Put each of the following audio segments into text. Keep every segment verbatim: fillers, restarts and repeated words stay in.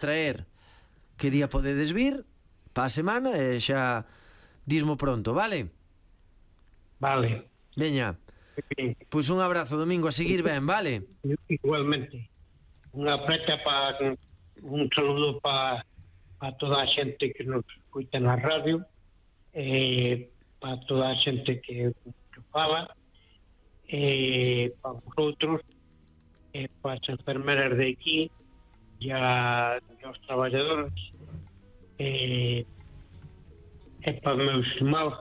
traer que día podedes vir pa a semana e xa dismo pronto, vale? Vale. Veña, pois un abrazo, Domingo, a seguir ben, vale? Igualmente. Unha preta para un saludo para pa toda a xente que nos escuta na radio, e para toda a xente que, que fala, e para vosotros, e para as enfermeras de aquí, e a, os traballadores, e, e para os meus irmãos,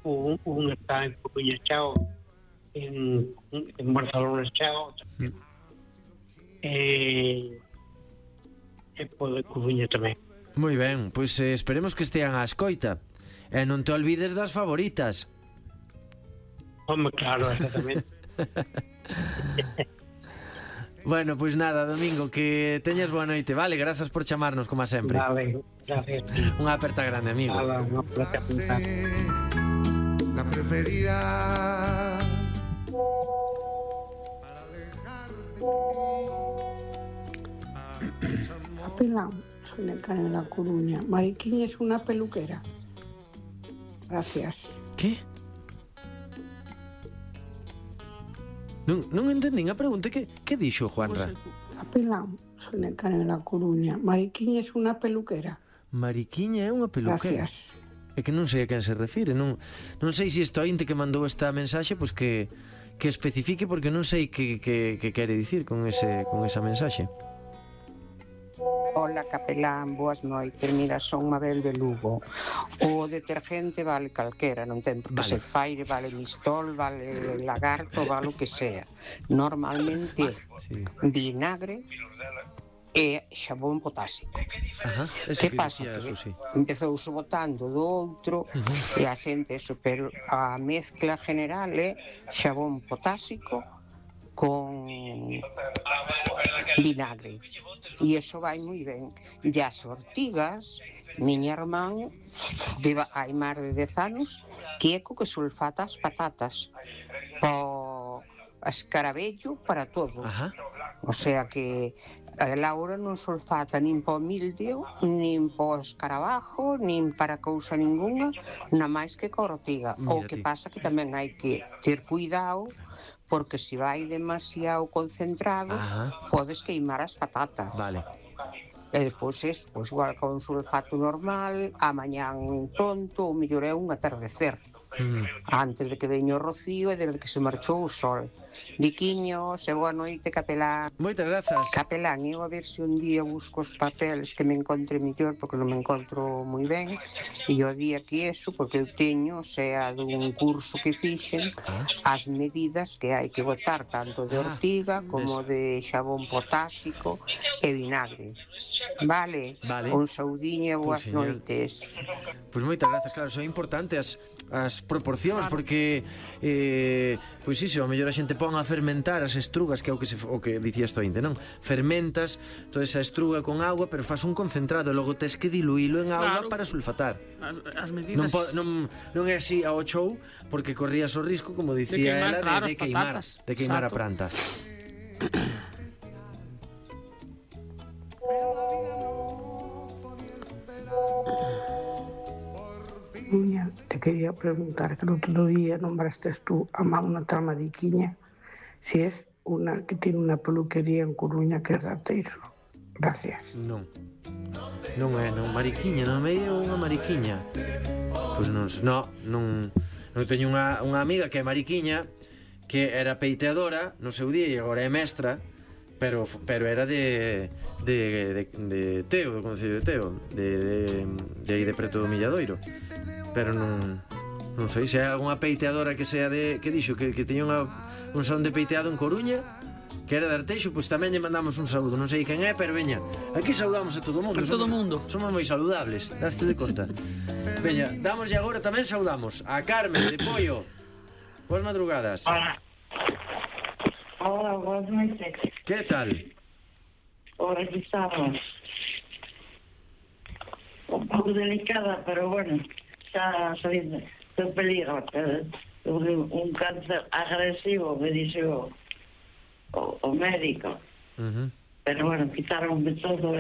un, un está en Coruña Chao, en, en Barcelona Chao, mm. e, e para Coruña tamén. Moi ben, pois eh, esperemos que estean á escoita, e non te olvides das favoritas. Home, claro, exactamente. Bueno, pois nada, Domingo, que teñas boa noite, vale? Grazas por chamarnos, como sempre. Vale, gracias. Unha aperta grande, amigo. Nada, unha aperta grande. La preferida Capelán, soy Necane de La Coruña. Mariquiña es una peluquera. Gracias. ¿Qué? Non, non entendín a pregunta. Que, que dixo, Juanra? Capelán, soy Necane de La Coruña. Mariquiña es una peluquera. Mariquiña é unha peluquera. Gracias. É que non sei a quen se refire. Non, non sei se isto ointe que mandou esta mensaxe, pois que, que especifique, porque non sei que, que, que quere dicir con, ese, con esa mensaxe. Hola, Capelán, boas noites. Mira, son Mabel de Lugo. O detergente vale calquera, non ten por que vale. Ser Faire, vale Mistol, vale Lagarto, vale o que sea. Normalmente sí. Vinagre e xabón potásico. Ajá, que, que pasa? Que sí. Empezou botando do outro uh-huh. e a xente eso, pero a mezcla general é xabón potásico con vinagre. E iso vai moi ben. E as ortigas, miña irmán viva hai máis de dez anos que é co que sulfata as patatas po escarabello para todo. Ajá. O sea que a Laura non sulfata nin po mildio, nin po escarabajo, nin para cousa ninguna, na máis que co ortiga. Mira, o que ti. Pasa que tamén hai que ter cuidado, porque se vai demasiado concentrado, ajá, podes queimar as patatas. Vale. E despois eso, pois igual con un sulfato normal, a mañán pronto, o mellor é un atardecer. Mm. Antes de que veño o rocío e de que se marchou o sol. Diquiños, e boa noite, Capelán. Moitas grazas. Capelán, eu a ver se un día busco os papeles que me encontre mellor, porque non me encontro moi ben, e o día que eso, porque eu teño, sea dun curso que fixen, as medidas que hai que botar tanto de ortiga como de xabón potásico e vinagre. Vale? Vale. Un saudiño e boas pues, noites. Pois pues moitas grazas, claro, son importantes as, as proporcións, claro, porque eh, pois iso, a mellor a xente pon a fermentar as estrugas, que é o que, se, o que dicía isto ainda, non? Fermentas toda esa estruga con agua, pero faz un concentrado, logo tes que diluílo en auga, claro, para sulfatar. As, as medidas... non, po, non, non é así ao chou, porque corrías o risco, como dicía de queimar, ela, claro, de, de queimar, de queimar a planta. Niña, te quería preguntar, que el otro día nombraste tú a una tal Mariquiña, si es una que tiene una peluquería en Coruña que é de Arteixo. Gracias. Non, non é, non, Mariquiña, non é unha Mariquiña. Pois non, non, non, non teño unha, unha amiga que é Mariquiña, que era peiteadora no seu día e agora é mestra, pero pero era de de, de, de Teo, do Concello de Teo, de, de, de aí de preto do Milladoiro. Pero non non sei se hai algunha peiteadora que sea de, que dixo que, que teña unha, un salón de peiteado en Coruña, que era de Arteixo, pois tamén lle mandamos un saúdo. Non sei quen é, pero veña, aquí saudamos a todo o mundo. A todo o mundo. Somos moi saludables, daste de conta. Veña, damos e agora tamén saudamos a Carmen de Pollo. Boas madrugadas. Hola. Hola, boas noites. Que tal? Ora, aquí estamos. Un pouco delicada, pero bueno, xa saliendo do peligro. Un cáncer agresivo, me dixe o, o, o médico. Uh-huh. pero bueno, quitaron de todo.